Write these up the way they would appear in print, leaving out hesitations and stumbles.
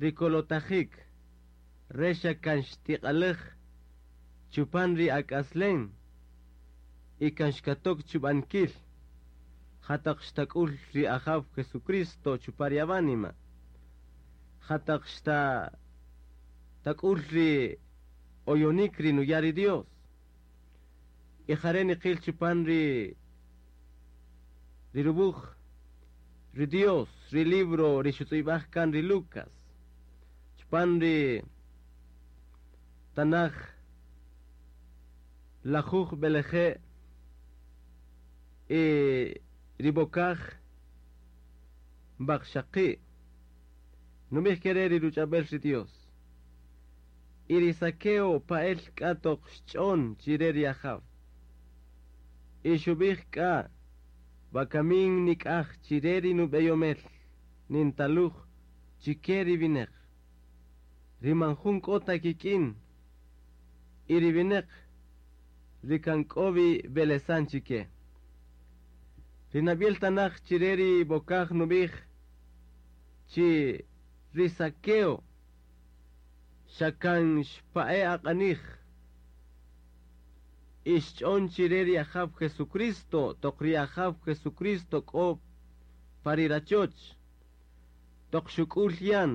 Rikolotajik re xa kan xtiq'alej chupan ri ak'aslen y kan xkatok chub'ankil jataq xtak'ul ri ajaw Jesucristo chupan ri awanima jataq xta tak'ul ri oyonik ri nuya' ri Dios. Y jare' niqil chupan ri rubuj ri Dios ri libro ri xutz'ib'aj kan ri Lucas. Chupan ri tanaj lajuj b'eleje' y ri b'okaj b'aqxaqi' nub'ij kere' ri ruch'ab'el ri Dios. Y ri Zaqueo pa'el k'a toq xch'on chire ri ajaw. Y xub'ij k'a wakamin nik'aj chire ri nub'eyomel nintaluj chike ri wineq ri man jun k'o ta kik'in y ri wineq ri kan k'o wi b'elesan chike. Ri nab'yel tanaj chire ri b'okaj nub'ij chi ri Zaqueo xa kan xpa'e aq'anij y xch'on chire ri ajaw Jesucristo toq ri ajaw Jesucristo k'o pa ri rachoch toq xuk'ul yan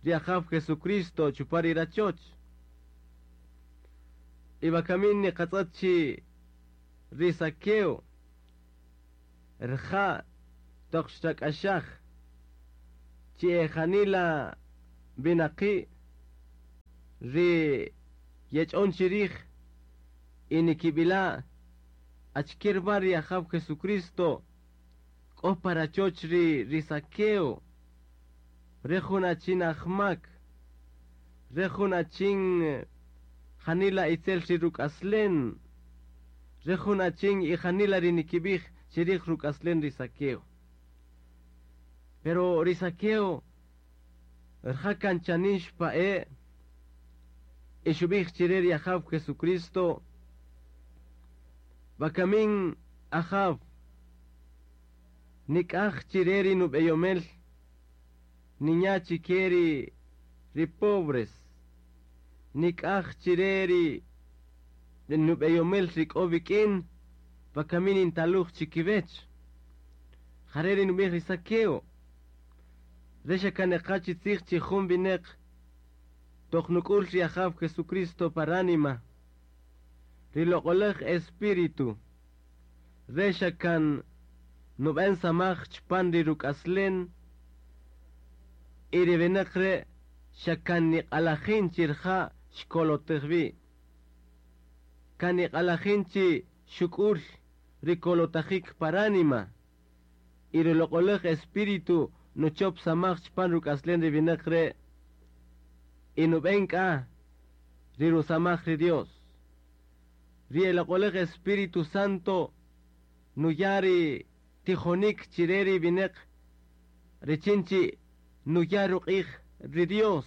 ri ajaw Jesucristo chupan ri rachoch. Y wakamin niqatz'ët chi ri Zaqueo rija' toq xrak'axaj chi e janila winaqi' ri yech'on chirij y nikib'ila' achike ruma ri ajaw Jesucristo k'o pa rachoch ri Zaqueo re jun achin ajmak re jun achin janila itzel ri ruk'aslen re jun achin y janila ri nikib'ij chirij ruk'aslen ri Zaqueo. Pero ri Zaqueo rija' kan chanin xpa'e' y xub'ij chire ri ajaw Jesucristo wakamin ajaw nik'aj chire ri nub'eyomel ninya' chike ri pobres nik'aj chire ri nub'eyomel ri k'o wik'in wakamin nintaluj chikiwech jare' ri nub'ij ri Zaqueo. Re xa kan neqa chi tzij chi jun wineq toq nuk'ul ri ajaw Jesucristo pa ránima ri loq'olej Espíritu re xa kan nub'en samaj chupan ri ruk'aslen y ri wineq re' xa kan niq'alajin chi rija' xkolotej wi' kan niq'alajin chi xuk'ul ri kolotajik pa ránima y ri loq'olej Espíritu nuchop samaj chupan ruk'aslen ri wineq re' y nub'en k'a ri rusamaj ri Dios. Ri loq'olej Espíritu Santo nuya' ri tijonik chire ri wineq richin chi nuya' ruq'ij ri Dios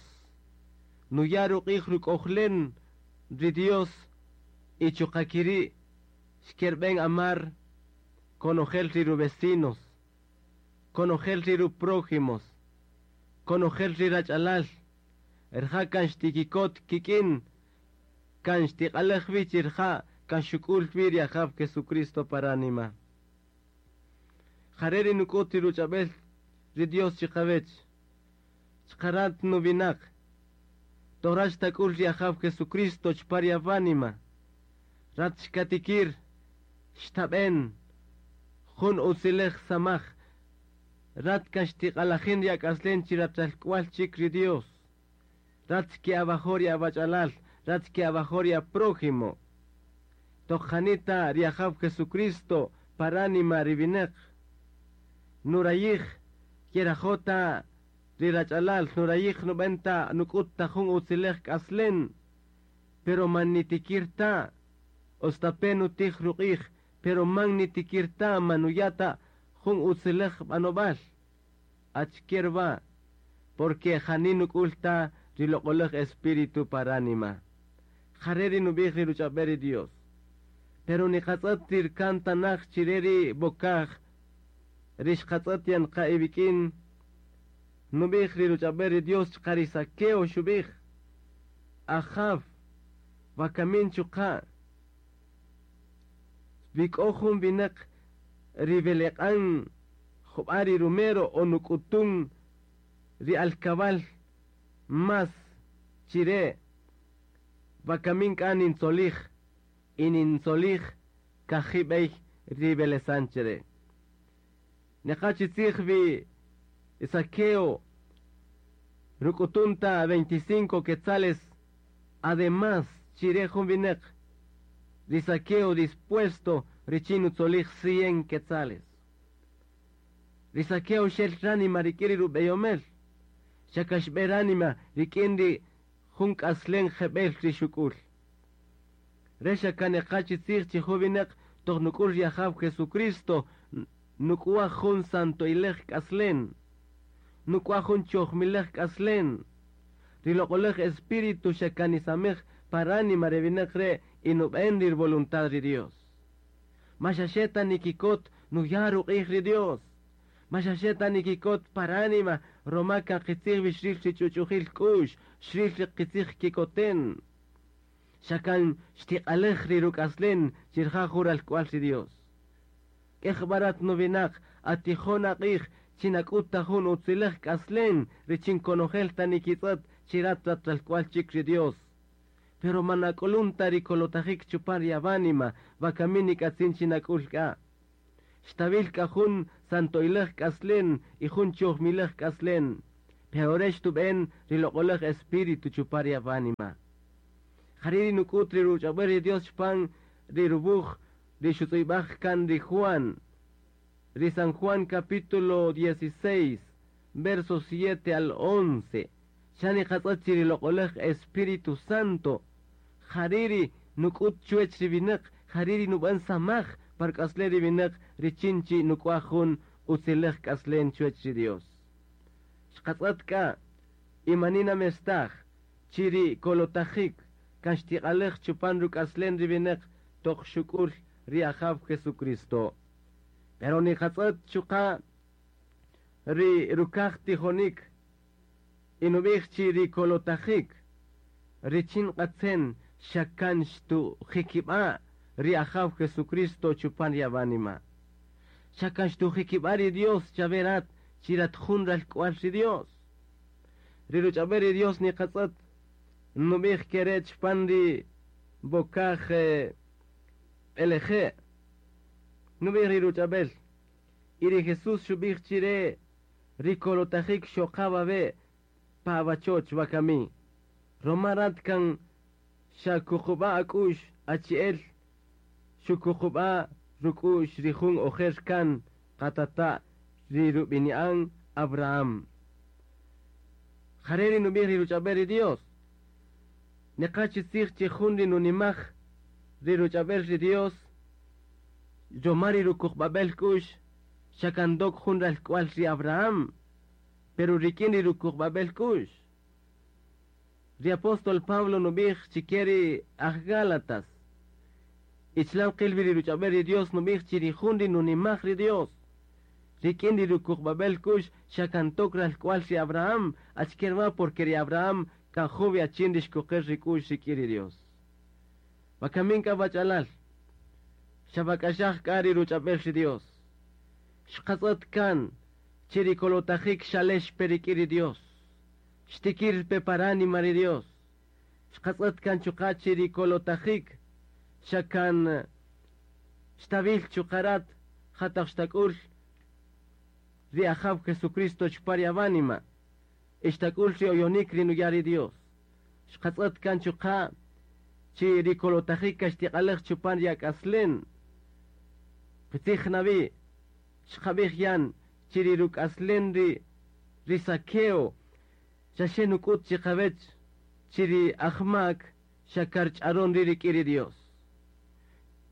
nuya' ruq'ij ruk'ojlen ri Dios y chuqa' kiri' xkerb'en amar konojel ri ruvecinos konojel ri ruprójimos konojel ri rach'alal rija' kan xtikikot kik'in kan xtiq'alej wi chi rija' kan xuk'ul wi ri ajaw Jesucristo pa ránima. Jare' ri nuk'ut ri ruch'ab'el ri Dios chiqawech chqarat nuwinaq toq rat xtak'ul ri ajaw Jesucristo chupan ri awánima rat xkatikir xtab'en jun utzilej samaj rat kan xtiq'alajin ri ak'aslen chi ratalk'wal chik ri Dios. Rat xke'awajo' ri awach'alal rat xke'awajo' ri aprójimo. Toq janita ri ajaw Jesucristo pa ránima ri wineq nurayij yerajota ri rach'alal nurayij nub'en ta nuk'ut ta jun utzilej k'aslen pero man nitikir ta ostape nutij ruq'ij pero man nitikir ta man nuya' ta jun utzilej b'anob'al achike ruma porque jani nuk'ul ta ri loq'olej Espíritu pa ránima jare' ri nub'ij ri ruch'ab'el ri Dios. Pero niqatz'ët ri kan tanaj chire ri b'okaj ri xqatz'ët yan qa iwik'in. Nub'ij ri ruch'ab'el ri Dios chuqa' ri Zaqueo xub'ij, Ajaw, wakamin chuqa' wi k'o jun winäq ri weleq'an jub'a' ri rumero o nuk'utun ri alkab'al más chi re', wakamin k'a nintzolij y nintzolij kaji' b'ey ri welesan chi re'. Neqa chi tzij wi Zaqueo ruk'utun ta 25 quetzales además chi re jun winäq, ri Zaqueo dispuesto richin nutzolij 100 quetzales. Ri Zaqueo xel ránima rik'in ri rub'eyomel, xa kan xb'e ránima rik'in ri jun k'aslen jeb'ël ri xuk'ül. Re' xa kan neqa chi tzij chi jun winäq toq nuk'ül ri Ajaw Jesucristo nuk'waj jun santoilej k'aslen, nuk'waj jun chojmilej k'aslen. Ri loq'oläj Espíritu xa kan nisamej pa ránima re winäq re' y nub'än ri voluntad ri Dios. Ma xa xe ta nikikot nuya' ruq'ij ri Dios. Ma xa xe ta nikikot pa ránima ruma kan qitzij wi xril ri ch'uch'ujil k'u'x, xril ri qitzij kikoten. Xa kan xtiq'alej ri ruk'aslen chi rija' jun ralk'wal ri Dios. K'ej jub'a' rat nuwinaq, atijon aq'ij chi nak'üt ta jun utziläj k'aslen richin konojel ta nikitz'ët chi rat rat ralk'wal chik ri Dios. Pero man ak'ulun ta ri kolotajik chupan ri awánima, wakami nik'atzin chi nak'ül k'a. Xtawil k'a jun santoiläj k'aslen y jun chojmiläj k'aslen, pero re' xtub'än ri loq'oläj Espíritu chupan ri awánima. Jari' ri nuk'üt ri ruch'ab'äl ri Dios chupan ri ruwuj ri xutz'ib'aj kan ri Juan, ri San Juan capítulo 16, versos 7 al 11. Xa niqatz'ët chi ri loq'oläj Espíritu Santo, jari' ri nuk'üt chuwäch ri winäq, jari' ri nub'än samaj pa ruk'aslen ri winäq richin chi nuk'waj jun utziläj k'aslen chuwäch ri Dios. Xqatz'ët k'a, y mani namestaj, chi ri kolotajik kan xtiq'alej chupan ruk'aslen ri winäq toq xuk'ül ri Ajaw Jesucristo. Pero niqatz'ët chuqa' ri rukaj tijonik y nub'ij chi ri kolotajik richin q'atzen xa kan xtujikib'a' ri Ajaw Jesucristo chupan ri awánima. Xa kan xtujikib'a' ri Dios chawe rat chi rat jun ralk'wal ri Dios. Ri ruch'ab'el ri Dios niqatz'ët nub'ij ke re' chupan ri bokaj b'eleje'. Nub'ij ri ruch'ab'el. Y ri Jesús xub'ij chi re' ri kolotajik xoqa wawe' pa awachoch wakami. Ruma rat kan xakuqub'a' ak'u'x achi'el xukuqub'a' ruk'u'x ri jun ojer kan qatata' ri rub'ini'an Abraham. Jare' ri nub'ij ri ruch'ab'el ri Dios. Neqa chi tzij chi jun ri nunimaj ri ruch'ab'el ri Dios, ruma ri rukuqb'ab'el k'u'x xa kan ndok jun ralk'wal ri Abraham, pero rik'in ri rukuqb'ab'el k'u'x. Ri apóstol Pablo nub'ij chike ri aj Gálatas. Ichlan qil wi ri ruch'ab'el ri Dios nub'ij chi ri jun ri nunimaj ri Dios. Rik'in ri rukuqb'ab'el k'u'x xa kan tok ralk'wal ri Abraham, achike ruma porque ri Abraham kan jun wi achin ri xkuqer ri k'u'x rik'in ri Dios. Wakamin k'a wach'alal, xa wak'axaj k'a ri ruch'ab'el ri Dios. Xqatz'ët kan chi ri kolotajik xalex pe rik'in ri Dios. Xtikir pe pa ránima ri Dios. Xqatz'ët kan chuqa' chi ri kolotajik xa kan xtawil chuqa' rat jataq xtak'ül ri Ajaw Jesucristo chupan ri awánima. Y xtak'ül ri oyonik ri nuya' ri Dios. Xqatz'ët kan chuqa' chi ri kolotajik kan xtiq'alej chupan ri ak'aslen. Qitzij nawi, xqab'ij yan chi ri ruk'aslen ri ri Zaqueo xa xe nuk'üt chiqawech chi ri ajmak xa karch'aron ri' rik'in ri Dios.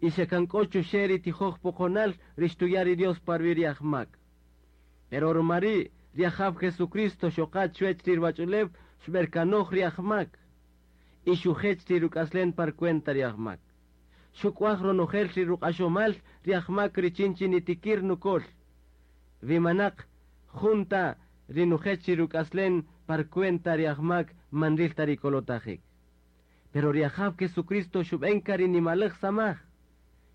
Y xa kan k'o chuxe' ri tijoj poqonal ri xtuya' ri Dios pa ruwi' ri ajmak. Pero ruma ri' ri Ajaw Jesucristo xoqa chuwech ri ruwach'ulew xb'erkanoj ri ajmak y xujech ri ruk'aslen par cuenta ri ajmak. Xuk'waj ronojel ri ruq'axomal ri ajmak richin chi nitikir nukol. Wi manaq jun ta ri nujech ri ruk'aslen par cuenta ri ajmak man nril ta ri kolotajik. Pero ri Ajaw Jesucristo xub'en ka ri nimaläj samaj.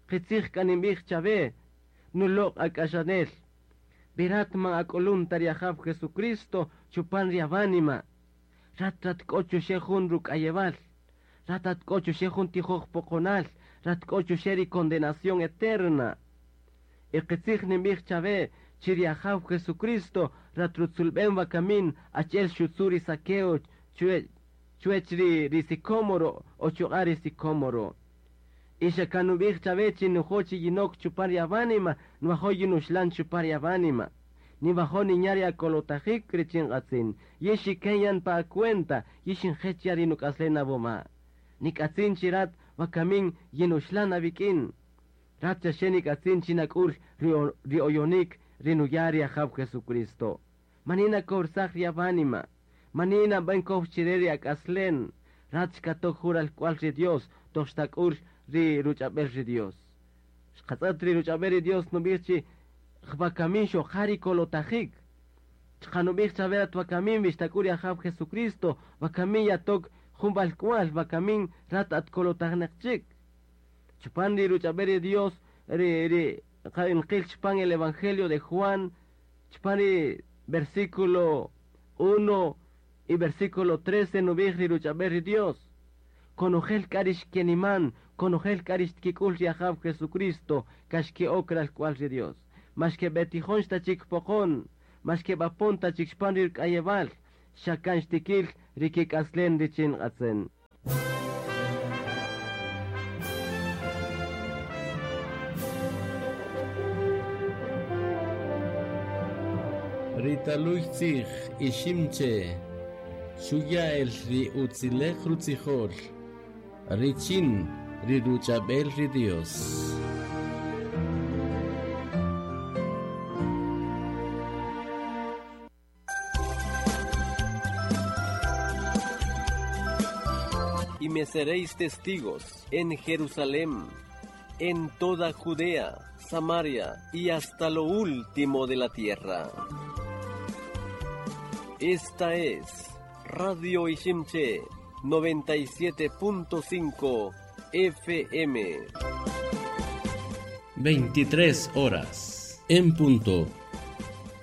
Qitzij k'a ninb'ij chawe, nuloq' ak'axanel, vi rat man ak'ulun ta ri Ajaw Jesucristo chupan ri awánima, rat rat k'o chuxe' jun ruk'ayewal, rat at k'o chuxe' jun tijoj poqonal, rat k'o chuxe' ri condenación eterna. Y qitzij ninb'ij chawe chi ri Ajaw Jesucristo rat rutzulb'en wakamin achi'el xutzu' ri Zaqueo chuwech ri sicómoro o chuq'a' ri sicómoro. Y xa kan nub'ij chawe chi nujo' chi yinok chupan ri awánima, nwajo' yinuxlan chupan ri awánima. Niwajo' ninya' ri akolotajik richin nk'atzin. Yin xiken yan pa acuenta, yin xinjech yan ri nuk'aslen awoma. Nik'atzin chi rat wakamin yinuxlan awik'in. Rat xaxe nik'atzin chi nak'ul ri oyonik ri nuya' ri Ajaw Jesucristo. Manina kowrsaj ri awánima. Manina nb'an kow chire ri ak'aslen. Rat xkatok jun ralk'wal ri Dios, toq xtak'ul ri ruch'ab'el ri Dios. Xqatz'ët ri ruch'ab'el ri Dios nub'ij chi wakamin xoqa ri kolotajik. Chuqa' nub'ij chawe rat wakamin wi xtak'ul ri Ajaw Jesucristo, wakamin yatok jun walk'wal, wakamin rat at kolotajnäq chik. Chupan ri ruch'ab'el ri Dios, ri nqil chupan el Evangelio de Juan, chupan ri versículo 1 y versículo 13 nub'ij ri ruch'ab'el ri Dios. Konojel k'a ri xkeniman, konojel k'a ri xtkik'ul ri Ajaw Jesucristo, ka xke'ok ralk'wal ri Dios. Ma xkeb'etijon ta chik poqon, ma xkeb'apon ta chik chupan ri ruk'ayewal, xa kan xtikil ri kik'aslen richin nk'atzin. Ri taluy tzij Iximche, xuya' el ri utzilej rutzijol, richin ri ruch'ab'el ri Dios. Y me seréis testigos en Jerusalén, en toda Judea, Samaria y hasta lo último de la tierra. Esta es Radio Iximche 97.5 FM. 23 horas en punto.